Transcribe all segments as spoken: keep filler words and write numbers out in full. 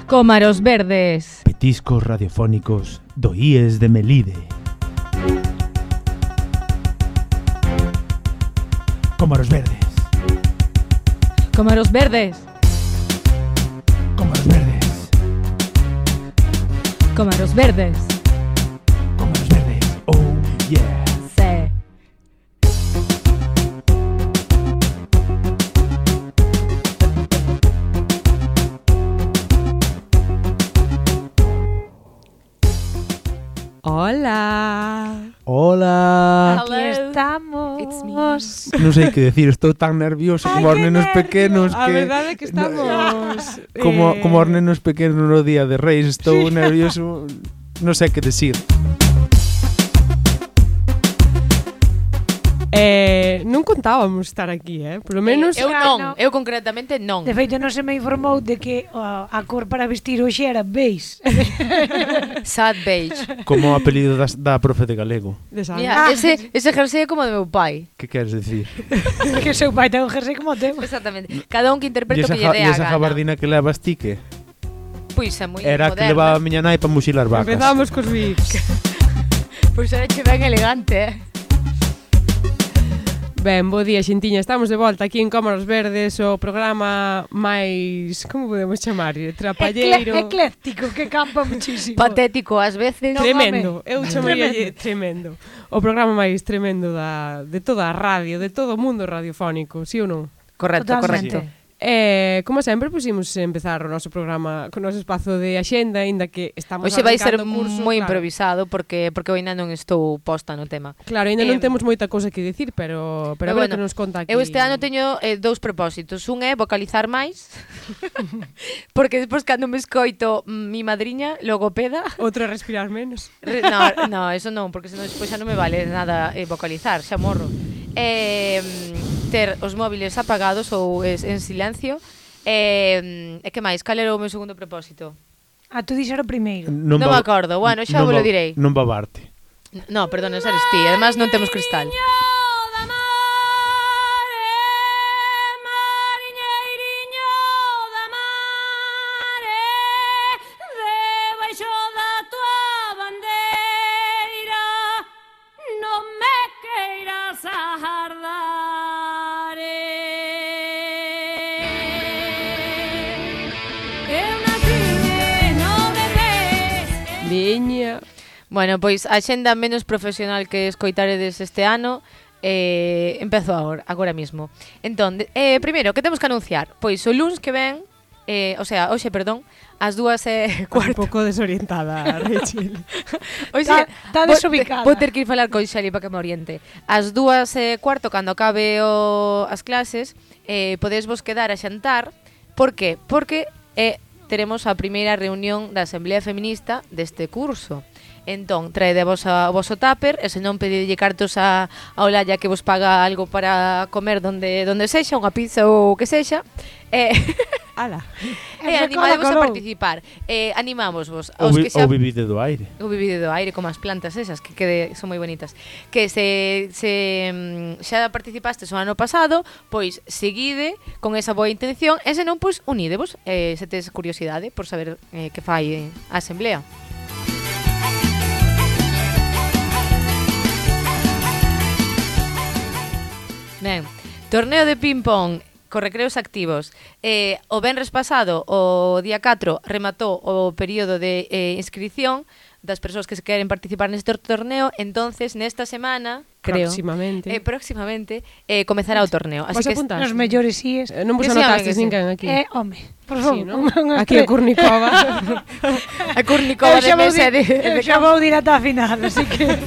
Cómaros verdes. Petiscos radiofónicos do I E S de Melide. Cómaros verdes. Cómaros verdes. Cómaros verdes. Cómaros verdes. Cómaros verdes. Oh, yeah. Sí. Hola. Hola. Aquí estamos. It's me. Non sei que decir, estou tan nervioso Ay, como os qué nenos nervio. pequenos A que verdade é que estamos como eh, como os nenos pequenos no día de Reis, estou nervioso, non sei que decir. eh, non contábamos estar aquí, eh? Por lo menos Eu Ah, non, non. eu concretamente non. De feito, non se me informou de que uh, a cor para vestir hoxe era beige. Sad beige. Como o apelido das, da profe de galego. de Sara. Mira, Ah. ese, ese jersey é como de meu pai. Que queres decir? Que seu pai ten un jersey como o teu. Exactamente. Cada un que E interpreta o esa, que lle ja- dé e a esa gana. gabardina que levas ti que? Pois é moi Era a que moderna. levaba a miña nai para muxilar vacas. Empezamos cos bics. Pois era che ben elegante, eh. Ben, bo día, xentiña. Estamos de volta aquí en Cómaros Verdes, o programa máis, como podemos chamar? Trapalleiro. Ecle ecléctico, que campa muchísimo. Patético ás veces. No, Tremendo, home. eu chamaría tremendo. O programa máis tremendo da, de toda a radio, de todo o mundo radiofónico, sí ou non? Correcto, Totalmente. correcto. Eh, como sempre, pusimos empezar o noso programa con o noso espazo de axenda, aínda que estamos Hoxe vai ser arrancando o curso, moi claro. improvisado porque porque eu ainda non estou posta no tema. Claro, ainda non Eh, temos moita cousa que dicir, pero pero a Pero ver bueno, que nos conta aquí. Eu este ano teño eh, dous propósitos. Un é vocalizar máis, porque despois cando me escoito mm, mi madriña, logopeda, outro é respirar menos. re- no, no, eso non, porque senón despois xa non me vale nada eh, vocalizar, xa morro. Eh, mm, ter os móviles apagados ou es, en silencio. Eh, e que máis? Cal era o meu segundo propósito? Ah, tú dixera o primeiro. Non me ba- acordo. Bueno, xa non vos lo ba- direi. Non babarte. No, perdón, esa eres ti. Además non temos cristal. Veña. Bueno, pois a xenda menos profesional que escoitaredes este ano eh, empezo agora, agora mismo. Entón, de- eh, primeiro, que temos que anunciar? Pois o luns que ven, eh, o sea, hoxe, perdón, ás dúas e Un cuarto. pouco desorientada, Rachel. Hoxe, Tá- tá vou- desubicada. Vou ter que ir falar con Xali para que me oriente. Ás dúas e cuarto, cando acabe o, as clases, eh, podedes vos quedar a xantar. Por que? Porque eh, teremos a primeira reunión da Asamblea Feminista deste curso. Entón, traede vos a, o voso tupper, e se non pedidelle cartos a, a Olalla que vos paga algo para comer donde donde sexa, unha pizza ou o que sexa. Eh, Ala. e Eso animadevos a colou. participar. Eh, animámosvos. O, Os vi, que xa o vivide do aire. o vivido do aire, como as plantas esas que quede, son moi bonitas, que se, se mm, xa participastes o ano pasado, pois seguide con esa boa intención, e se non, pois unídevos, eh, se tes curiosidade por saber eh, que fai eh, a asamblea. Ben, torneo de ping-pong co recreos activos. Eh, o venres pasado, o día catro, rematou o período de eh, inscripción das persoas que se queren participar neste torneo. Entonces, nesta semana, creo, Próximamente. eh, próximamente, eh, comezará o torneo. Así Vas que apuntar? Nos mellores ies. Eh, non vos Que sí, home, anotastes que sí. ninguén aquí. Eh, home, por Sí, favor. non? unhas Aquí a tres. Curnicova. a Curnicova Eu de xa vou mesa di- de, de eu xa vou dir ata a final, así que...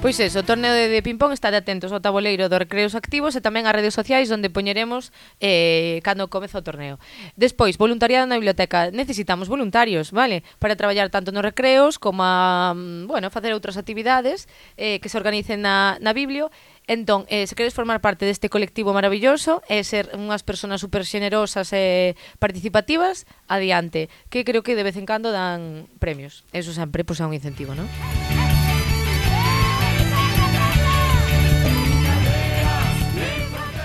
Pois eso, o torneo de, de ping-pong, estade atentos ao tabuleiro dos recreos activos e tamén ás redes sociais onde poñeremos eh, cando comeza o torneo. Despois, voluntariado na biblioteca. Necesitamos voluntarios, vale? Para traballar tanto nos recreos como a, mm, bueno, facer outras actividades eh, que se organicen na, na biblio. Entón, eh, se queres formar parte deste colectivo maravilloso e ser unhas persoas super xenerosas e participativas, adiante, que creo que de vez en cando dan premios. Eso sempre, pois, é un incentivo, non?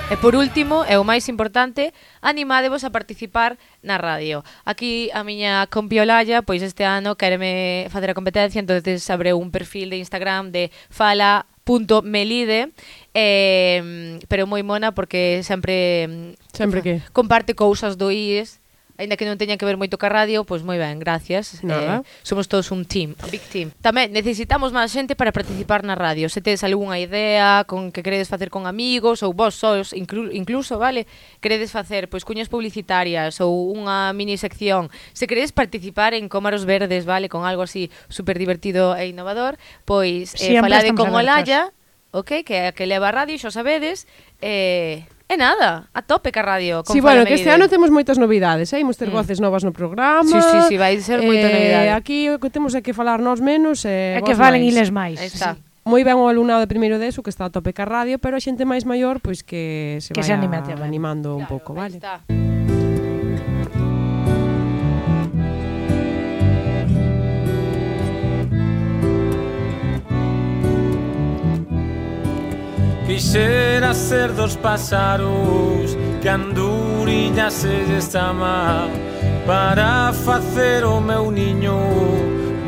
E por último, e o máis importante, animádevos a participar na radio. Aquí a miña compi Olalla, pois este ano quéreme facer a competencia, entonces abreu un perfil de Instagram de fala punto melide, eh, pero moi mona porque sempre Sempre que? comparte cousas do I E S, aínda que non teña que ver moito ca radio, pois moi ben, gracias. Nada. Eh, somos todos un team, un big team. Tamén necesitamos máis xente para participar na radio. Se tedes algunha idea con que queredes facer con amigos ou vos sois inclu incluso, vale, queredes facer pois cuñas publicitarias ou unha mini sección, se queredes participar en Cómaros Verdes, vale, con algo así super divertido e innovador, pois eh, falade con Olalla, ok, que é a que leva a radio, xa sabedes, eh E nada, a tope ca radio. Sí, bueno, que este ano temos moitas novidades, eh? Imos ter mm. voces novas no programa. Sí, sí, sí, vai ser moita eh, novidade. Aquí o que temos é que falar nós menos e eh, que falen iles máis. Está. Sí. Moi ben o alumnado de primeiro de eso que está a tope ca radio, pero a xente máis maior pois que se que vai se anime a animando un claro, pouco, vale? Está. Quixera ser dos páxaros que anduriña se lle chama para facer o meu niño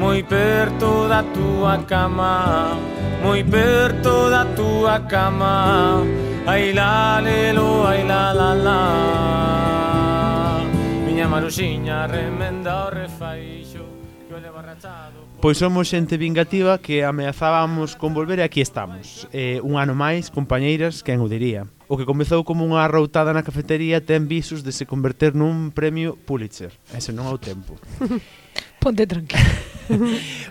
moi perto da túa cama, moi perto da túa cama. Ai la lelo, ai la la la. Miña maruxiña remenda o refaixo que o leva rachado. Pois somos xente vingativa que ameazábamos con volver e aquí estamos. Eh, un ano máis, compañeiras, quen o diría. O que comezou como unha arroutada na cafetería ten visos de se converter nun premio Pulitzer. Ese non é o tempo. Ponte tranquilo.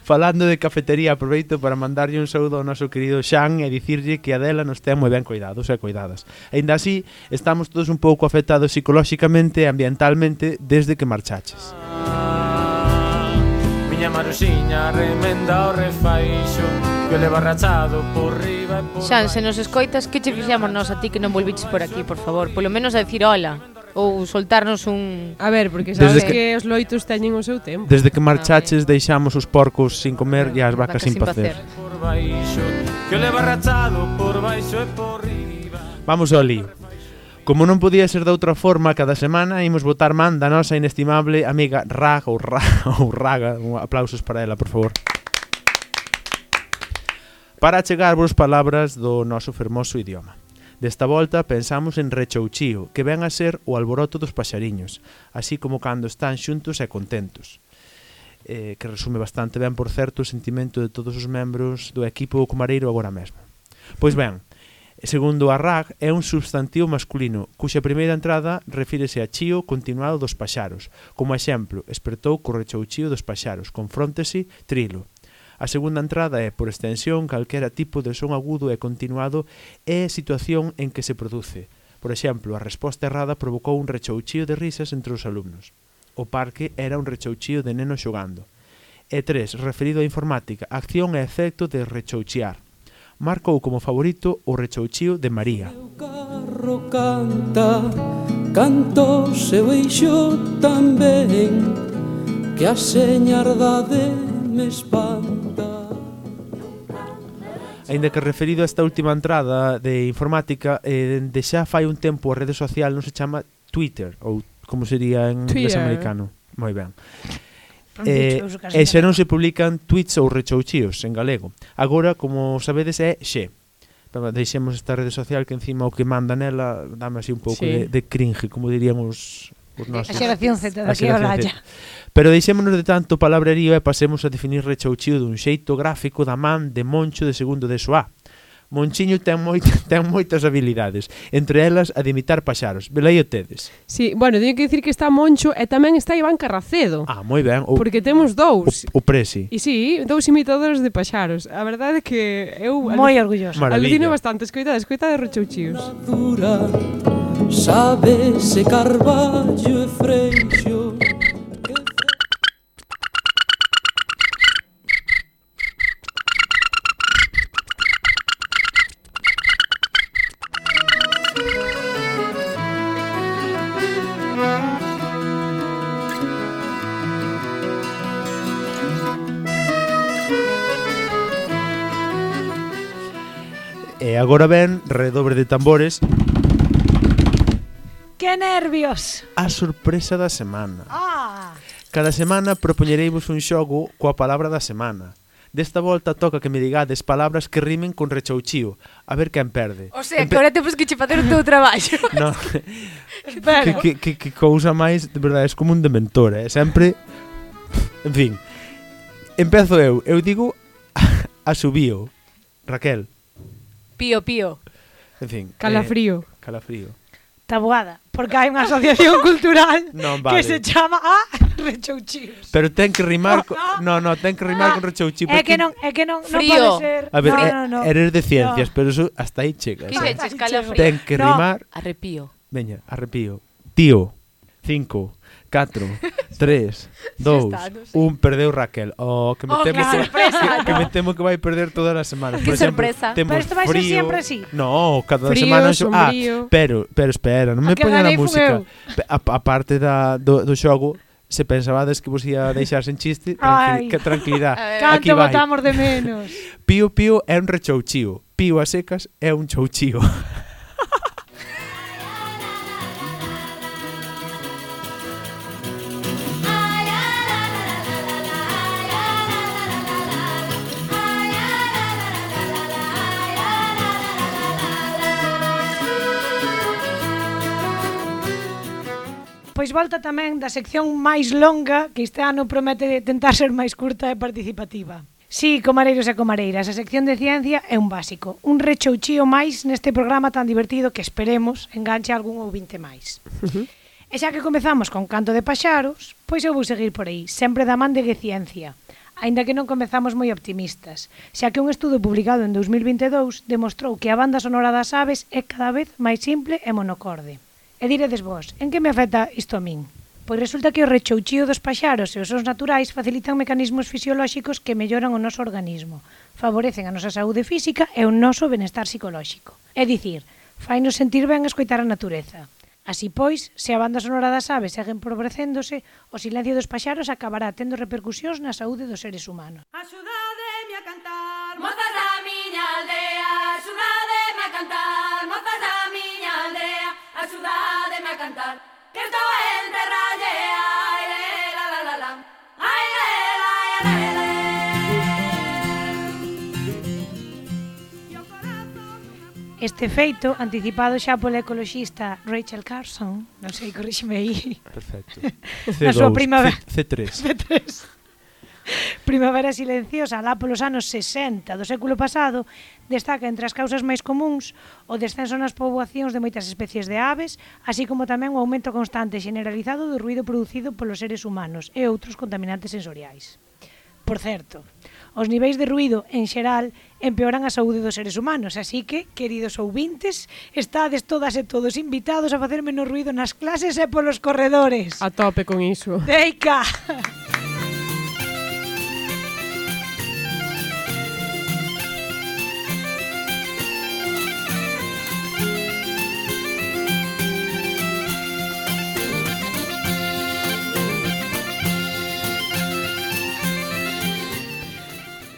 Falando de cafetería, aproveito para mandarlle un saúdo ao noso querido Xan e dicirlle que a dela nos ten moi ben cuidados e cuidadas. Ainda así, estamos todos un pouco afectados psicolóxicamente e ambientalmente desde que marchaches. Miña maruxiña remenda o refaixo que o leva rachado por riba e por Xan, se nos escoitas, que che fixemos nós a ti que non volviches por aquí, por favor? Polo menos a decir hola ou soltarnos un... A ver, porque sabes Desde que... que os loitos teñen o seu tempo. Desde que marchaches deixamos os porcos sin comer e as vacas, vacas sin pacer. por baixo que o leva rachado por baixo e por riba. Vamos ao lío. Como non podía ser de outra forma, cada semana imos botar man da nosa inestimable amiga Raga ou, Ra, ou Raga. Aplausos para ela, por favor. Para achegarvos palabras do noso fermoso idioma. Desta volta pensamos en rechouchío, que ven a ser o alboroto dos paxariños, así como cando están xuntos e contentos. Eh, que resume bastante ben, por certo, o sentimento de todos os membros do equipo comareiro agora mesmo. Pois ben, segundo a R A G, é un substantivo masculino, cuxa primeira entrada refírese a chío continuado dos paxaros. Como exemplo, espertou co rechouchío dos paxaros, confróntese, trilo. A segunda entrada é, por extensión, calquera tipo de son agudo e continuado é situación en que se produce. Por exemplo, a resposta errada provocou un rechouchío de risas entre os alumnos. O parque era un rechouchío de nenos xogando. E tres, referido á informática, acción e efecto de rechouchear. Marcou como favorito o rechouchío de María. O carro canta, canto seu eixo tamén, que a señardade me espanta. Aínda que referido a esta última entrada de informática, eh, de xa fai un tempo a rede social non se chama Twitter, ou como sería en inglés americano. Moi ben. Eh, e xa non se publican tweets ou rechouchíos en galego. Agora, como sabedes, é xe. Pero deixemos esta rede social que encima o que manda nela dame así un pouco sí. de, de cringe, como dirían os, os nosos. A xeración Z daqui a Olalla. Pero deixémonos de tanto palabrerío e pasemos a definir rechouchío dun xeito gráfico da man de Moncho de segundo de S O A. Monchiño ten, moito, ten moitas habilidades, entre elas a de imitar paxaros. Velaí o tedes. Sí, bueno, teño que dicir que está Moncho e tamén está Iván Carracedo. Ah, moi ben. O, porque temos dous. O, o Presi. E sí, dous imitadores de paxaros. A verdade é que eu... Moi orgulloso. Alucino bastante. Escoita, escoita de rechouchíos. Sabe se Carballo e Freixo. E agora ven redobre de tambores. Que nervios! A sorpresa da semana. Ah! Cada semana propoñereivos un xogo coa palabra da semana. Desta volta toca que me digades palabras que rimen con rechouchío. A ver quen perde. O sea, Empe- que ahora temos que che facer o teu traballo. No, Espera. que, que, que, que cousa máis, de verdade, é como un dementor, eh? Sempre... En fin. Empezo eu. Eu digo asubío. Raquel. Pío, pío. En fin. Calafrío. Eh, calafrío. Tabuada, porque hai unha asociación cultural Non, que vale. se chama a Rechouchíos. Pero ten que rimar... Co... No, No, no, ten que rimar Ah, con rechouchío. É que non, é que non, non Frío. pode ser. A ver, no, eh, no, no. eres de ciencias, No. pero eso hasta aí chegas. Que eh. dixeches, Ay, calafrío? Ten que No. rimar... Arrepío. Veña, arrepío. Tío. Cinco, catro, tres, dous, está, non sei. un, perdeu Raquel. Oh, que me Oh, temo que que, sorpresa, que, que no. me temo que vai perder todas as semanas. Que Por exemplo, sorpresa. temos Pero isto vai ser frío. siempre así. No, cada Frío, semana xo- Ah, sombrío. pero, pero espera, non A me que poña a ganei fun música. eu. Pe- A, a parte da, do, do xogo, se pensabades que vos ia deixar sen chiste, Ai. tranqui, que tranquilidade. A ver. Aquí Canto vai. botamos de menos. Pío Pío é un rechouchío. Pío a secas é un chouchío. Pois volta tamén da sección máis longa, que este ano promete tentar ser máis curta e participativa. Sí, comareiros e comareiras, a sección de ciencia é un básico, un rechouchío máis neste programa tan divertido que esperemos enganche a algún ouvinte máis. E xa que comezamos con Canto de Paxaros, pois eu vou seguir por aí, sempre da man de que ciencia, aínda que non comezamos moi optimistas, xa que un estudo publicado en dous mil vinte e dous demostrou que a banda sonora das aves é cada vez máis simple e monocorde. E diredes vos, en que me afecta isto a min? Pois resulta que o rechouchío dos paxaros e os sons naturais facilitan mecanismos fisiolóxicos que melloran o noso organismo, favorecen a nosa saúde física e o noso benestar psicolóxico. É dicir, fainos sentir ben escoitar a natureza. Así pois, se a banda sonora das aves segue empobrecéndose, o silencio dos paxaros acabará tendo repercusións na saúde dos seres humanos. Axudademe a cantar, mozas da miña aldea. Axudademe a cantar, mozas da miña aldea. Axudademe a cantar, que estou entre rallea. Ai, le, la, la, la, la. Ai, le, la, la, la, la. Este feito, anticipado xa pola ecoloxista Rachel Carson, non sei, corríxeme aí, Perfecto. Na súa primavera. C tres. C tres. Primavera silenciosa, alá polos anos sesenta do século pasado, destaca entre as causas máis comuns o descenso nas poboacións de moitas especies de aves, así como tamén o aumento constante e generalizado do ruído producido polos seres humanos e outros contaminantes sensoriais. Por certo, os niveis de ruído, en xeral, empeoran a saúde dos seres humanos, así que, queridos ouvintes, estades todas e todos invitados a facer menos ruído nas clases e polos corredores. A tope con iso. Deica!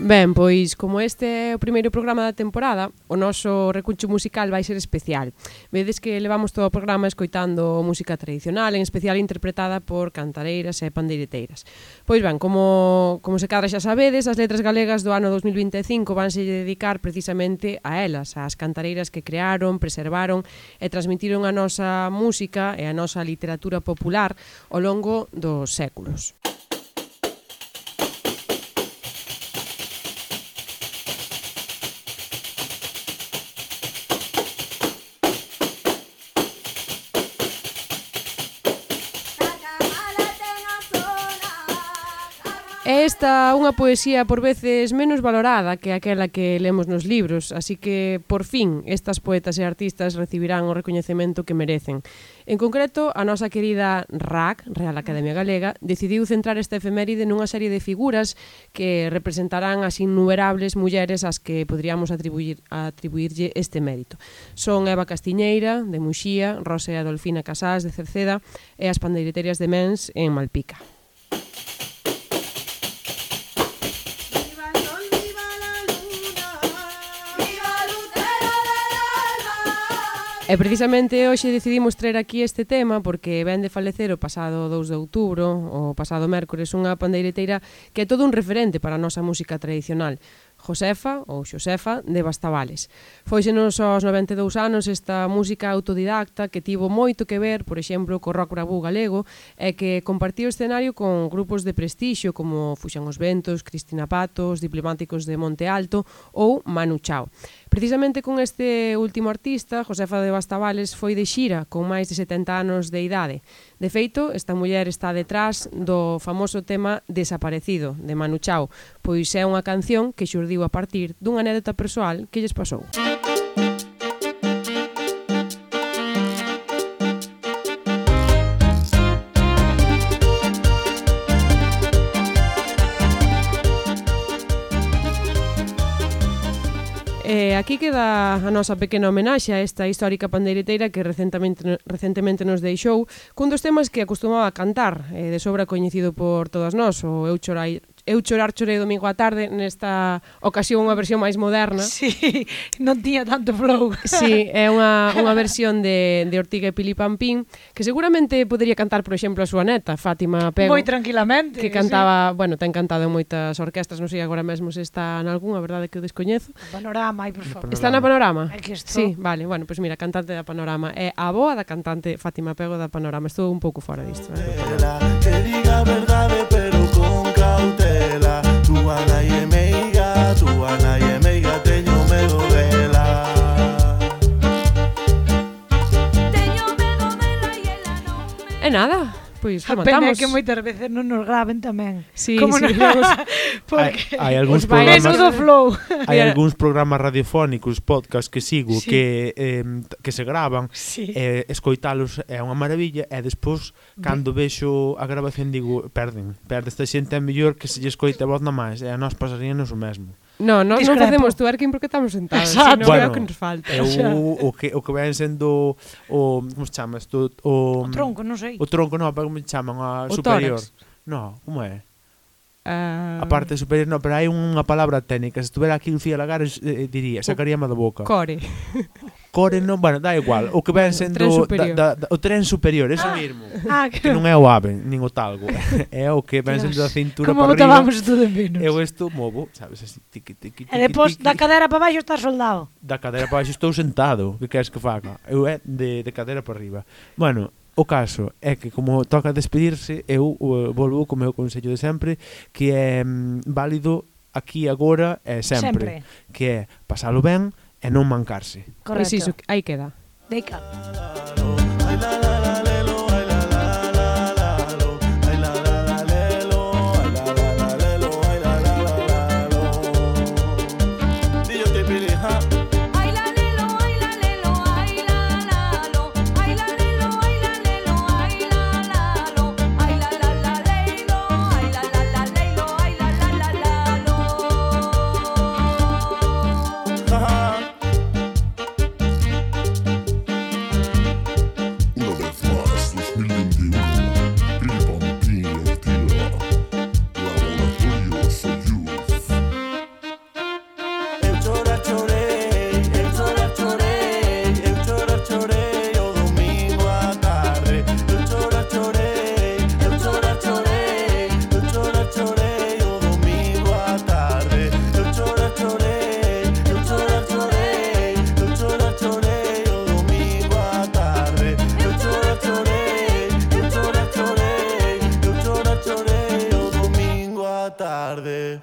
Ben, pois, como este é o primeiro programa da temporada, o noso recuncho musical vai ser especial. Vedes que levamos todo o programa escoitando música tradicional, en especial interpretada por cantareiras e pandeireteiras. Pois ben, como, como se cadra xa sabedes, as letras galegas do ano dos mil vinte e cinco vanse dedicar precisamente a elas, ás cantareiras que crearon, preservaron e transmitiron a nosa música e a nosa literatura popular ao longo dos séculos. Esta unha poesía por veces menos valorada que aquela que lemos nos libros, así que, por fin, estas poetas e artistas recibirán o recoñecemento que merecen. En concreto, a nosa querida R A C, Real Academia Galega, decidiu centrar esta efeméride nunha serie de figuras que representarán as innumerables mulleres ás que poderíamos atribuir, atribuirlle este mérito. Son Eva Castiñeira, de Muxía, Rosa e Adolfina Casás, de Cerceda, e as pandeireterias de Mens, en Malpica. E precisamente hoxe decidimos traer aquí este tema porque ven de falecer o pasado dous de outubro, o pasado mércores, unha pandeireteira que é todo un referente para a nosa música tradicional, Josefa, ou Xosefa, de Bastavales. Fóixenos aos noventa e dous anos esta música autodidacta que tivo moito que ver, por exemplo, co rock bravú galego e que compartiu escenario con grupos de prestixio como Fuxan os Ventos, Cristina Patos, Diplomáticos de Monte Alto ou Manu Chao. Precisamente con este último artista, Josefa de Bastavales, foi de xira con máis de setenta anos de idade. De feito, esta muller está detrás do famoso tema Desaparecido, de Manu Chao, pois é unha canción que xurdiu a partir dunha anécdota persoal que lles pasou. E aquí queda a nosa pequena homenaxe a esta histórica pandeireteira que recentemente, recentemente nos deixou cun dos temas que acostumaba a cantar, eh, de sobra coñecido por todas nós, o Eu chorai, Eu chorar chorei domingo á tarde, nesta ocasión unha versión máis moderna. Sí, non tiña tanto flow. Sí, é unha, unha versión de, de Ortiga e Pili Pampín, que seguramente podería cantar, por exemplo, a súa neta, Fátima Pego. Moi tranquilamente. Que cantaba, sí. Bueno, ten cantado en moitas orquestas, non sei agora mesmo se está en algunha, a verdade que o descoñezo. A Panorama, ai, por favor. Está na Panorama? É que estou. Sí, vale, bueno, pois pues mira, cantante da Panorama. É a boa da cantante Fátima Pego da Panorama. Estou un pouco fora disto. Eh? Que diga verdade, pero con cautela. Tu ana e meiga, tu ana e meiga, teño medo dela. Teño medo dela e ela non me... E nada, pois A pena é rematamos. que moitas veces non nos graven tamén. Sí, Como sí, non... vamos... Porque... Hai, hai algúns Os bailes programas... Menudo flow. Hai algúns programas radiofónicos, podcast que sigo, Sí. que eh, que se gravan, Sí. e eh, escoitalos é unha maravilla, e despois, cando vexo a grabación, digo, perden, perde esta xente, é mellor que se lle escoite a voz na máis, e a nós pasaríanos o mesmo. No, no, non Discrepo. facemos twerking porque estamos sentados. Exacto. Sino é Bueno, o que nos falta. É o, o que o que ven sendo o, como se chama isto? O, O tronco, non sei. O tronco, non, pero como se chaman? A O superior. tórax. No, como é? Uh, A parte superior, no, pero hai unha palabra técnica. Se estuvera aquí Lucía Lagares, eh, diría, sacaríame da boca. Core. Core non, bueno, dá igual. O que ven sendo tren superior. da, da, o tren superior, ese mesmo. Ah, Que que... non é o ave, nin o talgo. É o que ven sendo da cintura Como para arriba. botábamos todo en vinos. Eu isto movo, sabes, así, tiqui, tiqui, E depois, tiqui, da cadera para baixo está soldado. da cadeira para baixo estou sentado. Que queres que faga? Eu é de, de cadeira para arriba. Bueno, o caso é que como toca despedirse, eu uh, volvo co meu consello de sempre, que é mm, válido aquí agora e sempre, Sempre. que é pasalo ben e non mancarse. Pois Correcto. iso, aí queda. Deica. Ay la la la lelo, ay la la la la lo, ay la la la lelo, ay la la la lelo, ay la la la la lo. Dillo te pili, ja. Ay la lelo, ay la lelo, ay la la lo. Ay la lelo, ay la lelo, ay la la lo. Ay la la la leilo, ay la la la leilo, ay la la la la lo. Ja, ja. Una vez más, dos mil veintiuno, Pili Pampín Ortiga, Laboratorio Soyuz. Eu chorar chorei, eu chorar chorei, eu chorar chorei o domingo à tarde. Eu chorar chorei, eu chorar chorei, eu chorar chorei o domingo à tarde. Eu chorar chorei, eu chorar chorei, eu chorar chorei o domingo à tarde. Eu chorar chorei, eu chorar chorei, eu chorar chorei o domingo à tarde.